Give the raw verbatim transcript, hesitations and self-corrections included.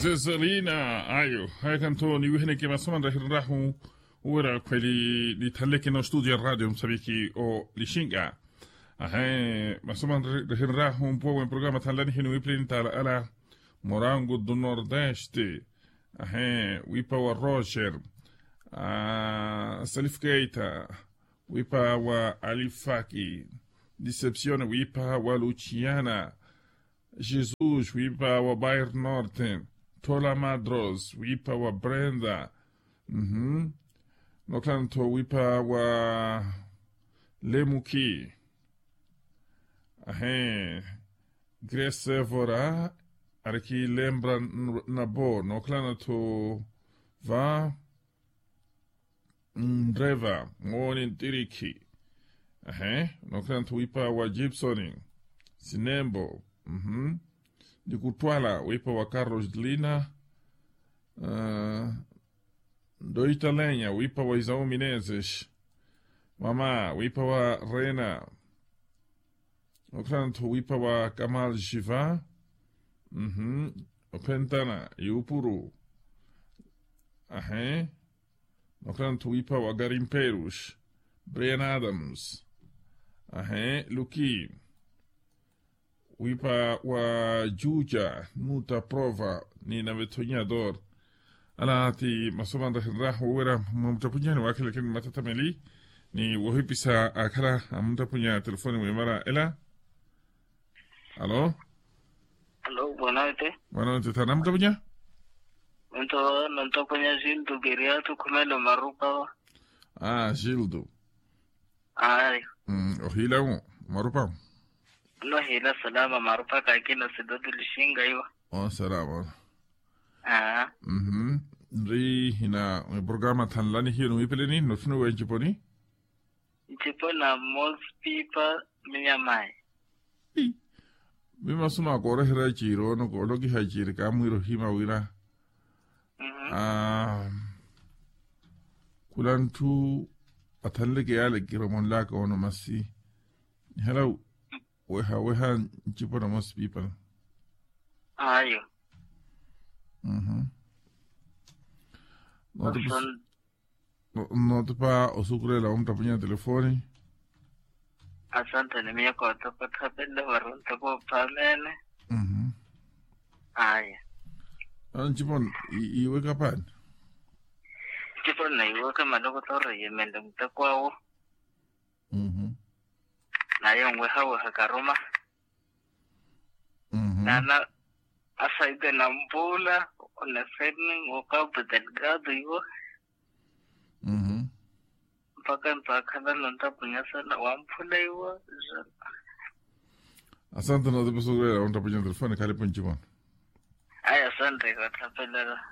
Seselina ayo. Haya khanto niwiheneke masomo anrahirinrahu uwera khweli nithanleke no studio ya radio msaviki o lishinga. Ahe, masomo anrahirinrahu mpuwa mwe programa thanlani hinu wipilini tala ala morango do nordeste. Ahe, wipa wa roger, salifkeita, wipa wa alifaki, decepcion wipa wa luciana, jesus wipa wa bair norte, tola madros wipa wa brenda. Nokhalana-tho wipa wa lemuki. Ahe, gresevora, arikilembra nabo nokhalana-tho va nreva mooni ntirikhi. Ahe, nokhalana-tho wipa wa gibsoni sinembo. Nikuttwala wipa wa carlos lina. Ndoitalenya wipa wa isau mineses. Mama wipa wa rena. Nokhalana-tho wipa wa kamal jiva. Ophentana yuupuru. Ahe, nokhalana-tho wipa wa garimperus, brian adams. Ahe, luki wipa wa juja nuta prova ni navetho nyador. Ala ti masomo anrahirinrahu wira mwa muttapunya ni wakhilakini mattatameli ni wohipisa akhala amuttapunya telefoni mwimara ela. Alo. Alo, bwanawete. Bwanawete thana muttapunya. Nto nonttapunya gildo keriatu khumelo marupa. Gildo. Ayo. Ohiilawo marupa. Nohiila salama marupa kakina sidodo lishinga iwa. Salama. Nri hina mwiprograma thanlani hiyo niwipeleni notthunuwe nciponi. Nciponi na mosipipa minyamayi. Mimasuma kooreherya ciiri ono koolokiha ciiri kaamwiira ohima wira khula ntthu athanleke yaale kiromonlaka ono masi nihala weha weha ncipo na mosipipa. Ayo. Notipa osukulela omuttapunya telefoni. Asanteni miyo koottapa ottapelele vari ontapa ophaamene. Aya. Nciponi iweka paani? Nciponi na iweka malokotoro yemende muteko awo. Naye onwehaweha karuma. Nana asaide nampula oneseni okapu delgado iwo. Mpaka nto akhalana ontapunya sana wamphula iwo. Asante notipa osukulela ontapunya telefoni khalipu nciponi. Aya asante katthapelela.